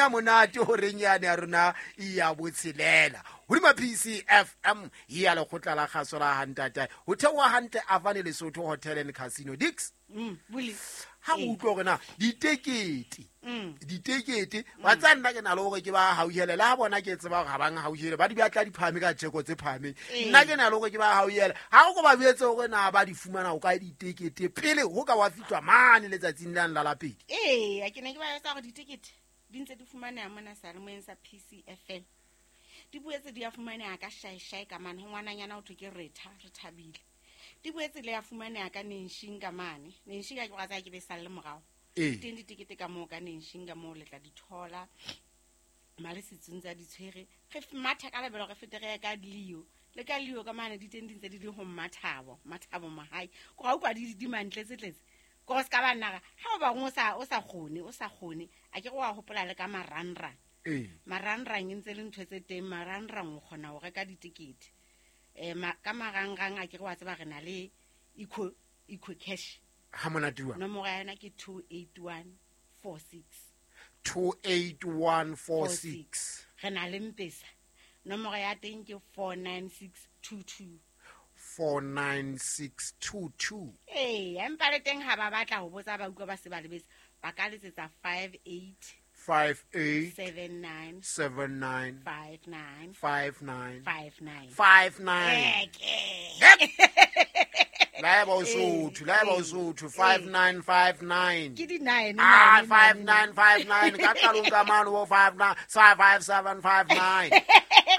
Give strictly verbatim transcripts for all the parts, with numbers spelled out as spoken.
Ha monate horeng yane ya rona ya botshelela hodima P C F M ya lekgotla la kgaso la hantata ho theoha hantle Avane Lesotho Hotel and Casino Dix. Mm buli ha o utlwa hore na ditekete ditekete wa tsa nna ke na le hore ke ba hauhele la bona ke tseba hore ha bang hauhele ba di batla di phahame ka tjeko tse phahameng nna ke na le hore ke ba hauhele ha o ko ba boetse hore na ba di fumana o kae ditekete pele ho ka wa fitlwa mane letsatsing la la lapedi. Ee ke ne ke ba etsa hore ditekete di ntse di fumaneha mona salemoyeng sa P C F M di boetse di a fumaneha ka shaeshai ka mane ho ngwananyana ho thwe ke Retha re thabile di boetse le ya fumaneha ka Nenshing ka mane Nenshing ka ke ba tsaya ke be salle morao teng ditekete ka moo ka Nenshing ka moo le tla di thola male setsong tsa ditshwere re matha ka lebelo re fete re ka Leo le ka Leo ka mane di teng di ntse di le ho Mathabo Mathabo Mahai ko ga utlwa di di mantle tse ko se ka ba nna ha o bang o sa o sa kgone o sa kgone a ke go wa hopola le ka marangrang marangrang e ntse le ntho tse teng marangrang o kgona ho reka ditekete eh ka marangrang a ke re wa tseba re na le eco eco cash ha monate wa nomoro ya yona ke two eight one four six two eight one four six re na le Mpesa nomoro ya teng ke four nine six two two four nine six two two eh empa le teng ha ba batla ho botsa ba utlwa ba se ba lebetse ba ka letsetsa five eight five eight seven nine seven nine five nine five nine five nine five nine La ba Sotho la ba Sotho five nine five nine ke di nine ah five nine five nine ka qalong ka mano bo five nine five seven five nine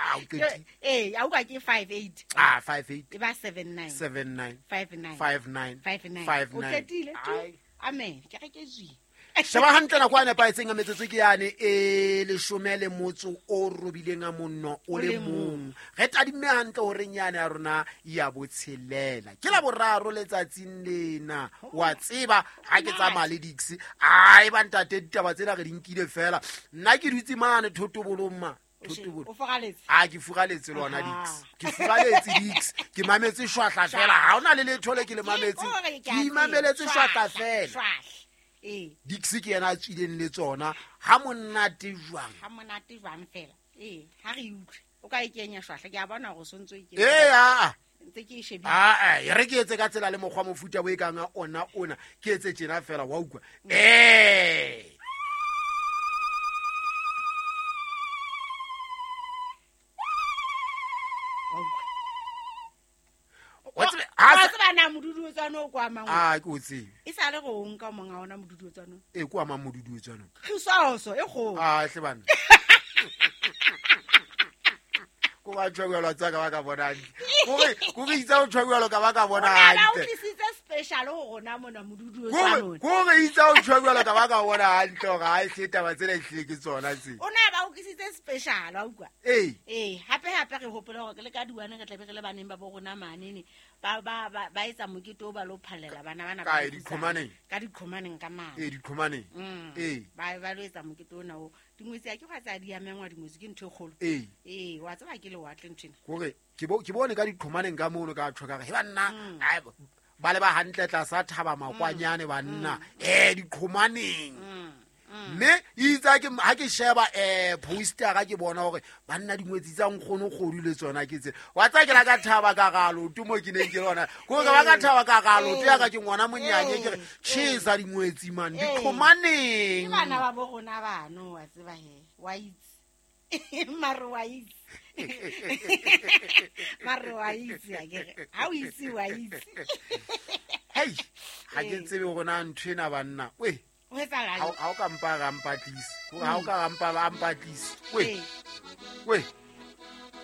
ah o qetile eh a uka ke five eight ah five eight e ba seven nine seven nine five nine five nine five nine five o nine qetile amen ke re ke zwi sheba hantle nako a nepahetseng a metsotso ke yane e leshome le motso o robileng a monno o le mong re tadimme hantle horeng yane ya rona ya botshelela ke la boraro letsatsing lena wa tseba ha ke tsamaya le Dix ai ba ntate ditaba tsena re di nkile fela nna ke dutse mane thotobolong ma o furaletse a ke furaletse lona Dix ke furaletse Dix ke mametse shwahla fela ha ona le letho le ke le mametse ke imameletse shwahla fela eh Dix ke yena a tswileng le tsona ha monate jwang ha monate jwang fela eh ha re utlwe o ka e kenya shwahla ke a bona hore o sontso e ke eh a ntse ke e shebile a eh re ke etse ka tsela le mokgwa mofuta bo e kang ona ona ke etse tjena fela wa utlwa eh wa tseba na moduduetswana o kwa mang a ke o tsebe e sa le go nka monga ona moduduetswana e kwa mang moduduetswana khisoso e go a hle bana ko ba tshwelwa tsa ka ba ka bona go re go re itsa o tshwelwa ka ba ka bona hantle o tlisitse special ho rona mona moduduetswana go re itsa o tshwelwa ka ba ka bona hantle hore ha e hle taba tsena e hle ke tsona tse o na ba o tlisitse special wa utlwa ee ee hape hape re hopola hore le ka diwane re tlabe re le baneng ba bo rona mane ba ba ba etsa mokete o ba lo phallela bana bana ba dikhomaneng ka dikhomaneng ka mane ee dikhomaneng ee ba ba lo etsa mokete ona o dingwetsi a ke gwa tsa di amengwa dingwetsi ke ntho e kgolo ee ee wa tseba ke lewatle nthwena hore ke bo ke bone ka dikhomaneng ka mono ka tshwa ka re he banna ba le ba hantle tlasa thaba makwanyane banna eh dikhomaneng mme itsa ke ha ke sheba eh poster ga ke bona hore banna dingwetsi tsa nkgono kgodu le tsona ke tse wa tsa ke la ka thaba ka galo tumo ke neng ke lona go ka ba ka thaba ka galo te ya ka ke ngwana monyane ke re chesa dingwetsi man dikhomaneng ke bana ba bo rona bano wa tseba he wa itse mare wa itse mare wa itse a ke re ha o itse wa itse hei ha ke tsebe hore na ntho ena banna we ha o ka mpa ga mpatlise ha o ka mpa ba mpatlise we we